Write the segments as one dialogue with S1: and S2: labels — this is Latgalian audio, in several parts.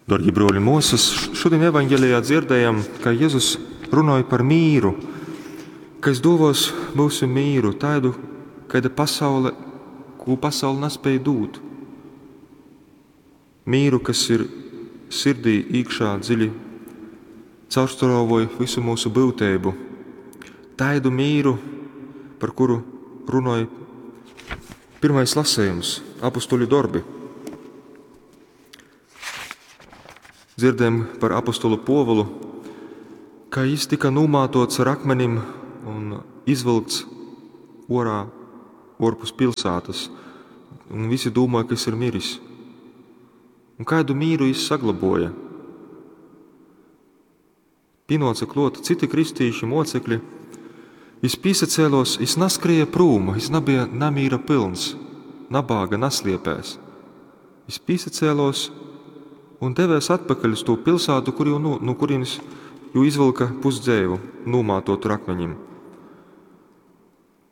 S1: Darbie bruoli un muosas, šodien evaņgelijā dzirdējam, ka Jēzus runāja par mīru, ka es dovos mūsu mīru, tādu, kāda pasaule, ko pasaule nespēja dūt. Mīru, kas ir sirdī iekšā dziļi caurstrauvoja visu mūsu būtību. Taidu mīru, par kuru runāja pirmais lasījums, apustuļu darbi. Dzirdējam par apostolu Povulu, ka viņš tika numātots ar akmenim un izvilkts orā, orpus pilsētas, un visi domāja, ka viņš ir miris. Un kādu mīru viņš saglaboja? Pinoca klot citi kristīši mocekļi, viņš pīsacēlos, viņš naskrēja prūm, viņš nebija namīra pilns, nabāga nasliepēs. Viņš pīsacēlos un devēs atpakaļ uz to pilsētu, kur jau, nu, no kurienes jau izvilka pusdzēvu, nomātot ar akmeņiem.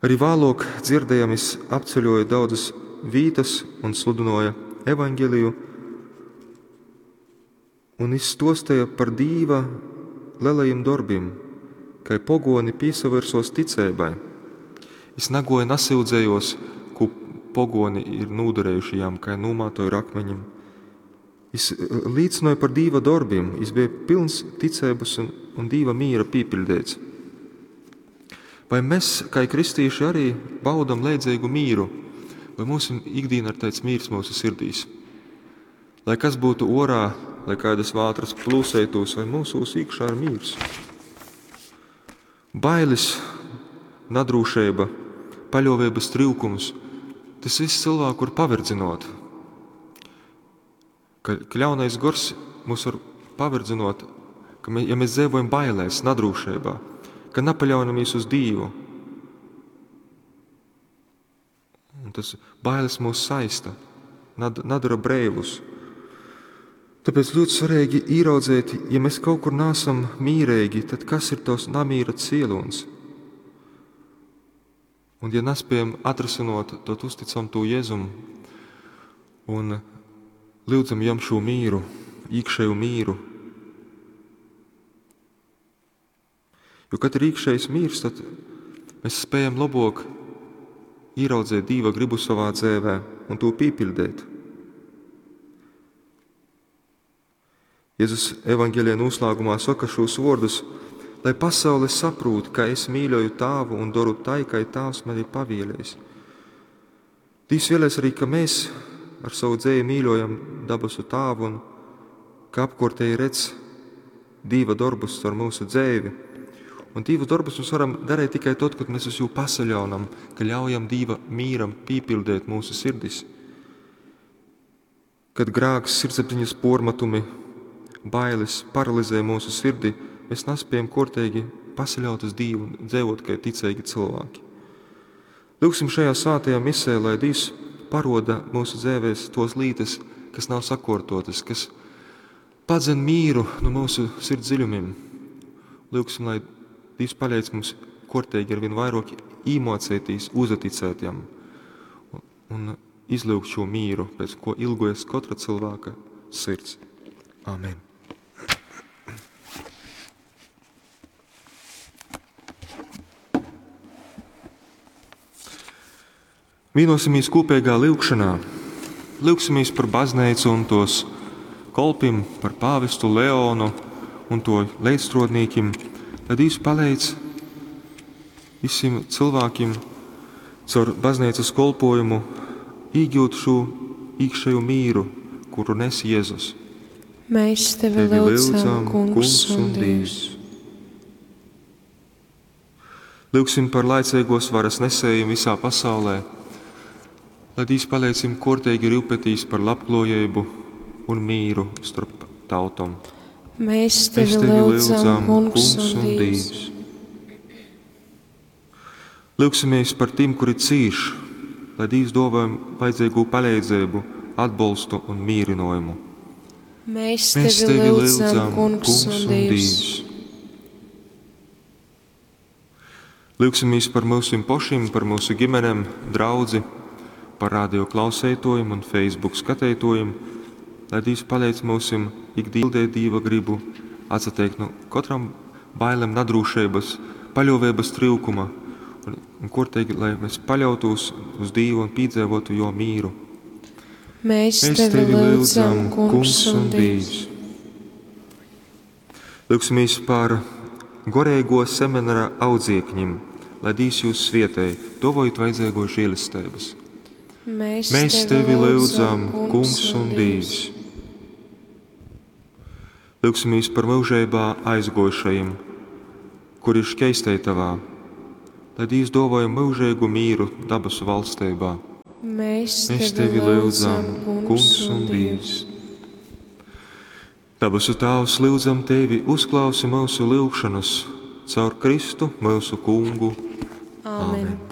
S1: Arī vēlāk dzirdējam, viņš apceļoja daudzas vītas un sludināja evaņģeliju, un viņš stostīja par Dīva lielajiem darbiem, kai pogoni pīsavirsos ticēbai. Es nagoju nasildzējos, ko pogoni ir nūdarējuši jām, kai nomātoju ar akmeņiem. Es līdzināju par Dīva darbiem, es bija pilns ticības un, un Dīva mīra pīpildēts. Vai mēs, kā kristīši, arī baudam leidzīgu mīru, vai mūsu ikdiena ir tāds mīrs mūsu sirdīs? Lai kas būtu orā, lai kādas vātras plūsētos, vai mūsos iekšā ir mīrs? Bailes, nadrūšība, paļāvības trūkums, tas viss cilvēku var paverdzinot. Ka ļaunais gors mūs var paverdzinot, ka mē, ja mēs dzīvojam bailēs, nadrūšībā, ka nepaļaujamies uz Dievu. Un tas bailes mūs saista, nad, nadara breivus. Tāpēc ļoti svarīgi ieraudzīt, ja mēs kaut kur nesam mīrīgi, tad kas ir tos namīra cielons? Un ja nespējam atrasinot, tad uzticam to Jēzum un lūdzam jam šo mīru, iekšēju mīru. Jo, kad ir iekšējs mīrs, tad mēs spējam labāk ieraudzīt Dieva gribu savā dzīvē un to pīpildīt. Jēzus evaņģēlijā noslēgumā saka šos vārdus, lai pasaule saprot, ka es mīļoju tāvu un daru tai, kā tāvs man ir pavēlējis. Dievs vēlēs arī, ka mēs ar savu dzēju mīļojam dabasu tāvu un ka apkārtēji redz Dieva darbus ar mūsu dzēvi. Un Dieva darbus mēs varam darīt tikai tad, kad mēs uz jū pasaļaunam, ka ļaujam Dieva mīram pīpildēt mūsu sirdis. Kad grāks, sirdsapziņas pormatumi, bailes paralizē mūsu sirdi, mēs nespējam kortīgi pasaļaut uz Dievu un dzīvot kā ticīgi cilvēki. Lūksim šajā sātajā misē, lai Dievs paroda mūsu dzīvēs tos lītas, kas nav sakortotas, kas padzen mīru no mūsu sirds dziļumiem. Lūksim, lai Dievs palīdz mums kortīgi ar vien vairāk īmocētīs, uzaticēt jam un, un izlūgt šo mīru, pēc ko ilgojas katra cilvēka sirds. Amen. Vienosimies kopīgā lūgšanā. Lūgsimies par baznīcu un tos kolpim, par pāvestu Leonu un to līdzstrodnīkim, lai Dievs palīdz visiem cilvēkiem caur baznīcas kolpojumu iegūt šo iekšējo mīru, kuru nes Jēzus.
S2: Mēs tevi lūdzam, Kungs un Dievs.
S1: Lūgsim par laicīgos varas nesējiem visā pasaulē, lai Dievs palīdz viņiem kortīgi rūpēties par labklājību un mīru starp tautom.
S2: Mēs tevi lūdzam, Kungs un Dievs.
S1: Lūgsimies par tiem, kuri cīš, lai Dievs dāvā vajadzīgo palīdzību, atbalstu un mierinājumu.
S2: Mēs tevi lūdzam, Kungs un Dievs.
S1: Lūgsimies par mūsu pašiem, par mūsu ģimenēm, draudzi, par radio klausētojiem un Facebook skatītojiem, lai Dievs palīdz mūsim ikdien pildeit Dīva grybu, atsateikt nu kotram bailem nadrūšeibas, paļōveibas tryukuma un, un korteigi, lai mēs paļautūs uz Dīvu un pīdzeivotu Jō mīru.
S2: Mēs, Mēs tevi lyudzam, Kungs un Dīvs.
S1: Lyugsimies par goreīgo seminara audziekņim, lai Dīvs jūs svietej, dovojot vajadzīgo žēlestības.
S2: Mēs, Mēs tevi lyudzam, Kungs un Dīvs.
S1: Lyugsimies par mūžībā aizgojušajiem, kuri ir šķeistētavā, lai Dīvs dāvāja mūžīgu mīru dabasu valstībā.
S2: Mēs, Mēs tevi lyudzam, Kungs un Dīvs.
S1: Dabasu Tāvs, lyudzam Tevi, uzklausi mūsu lyugšanas caur Kristu, mūsu Kungu.
S2: Āmen. Āmen.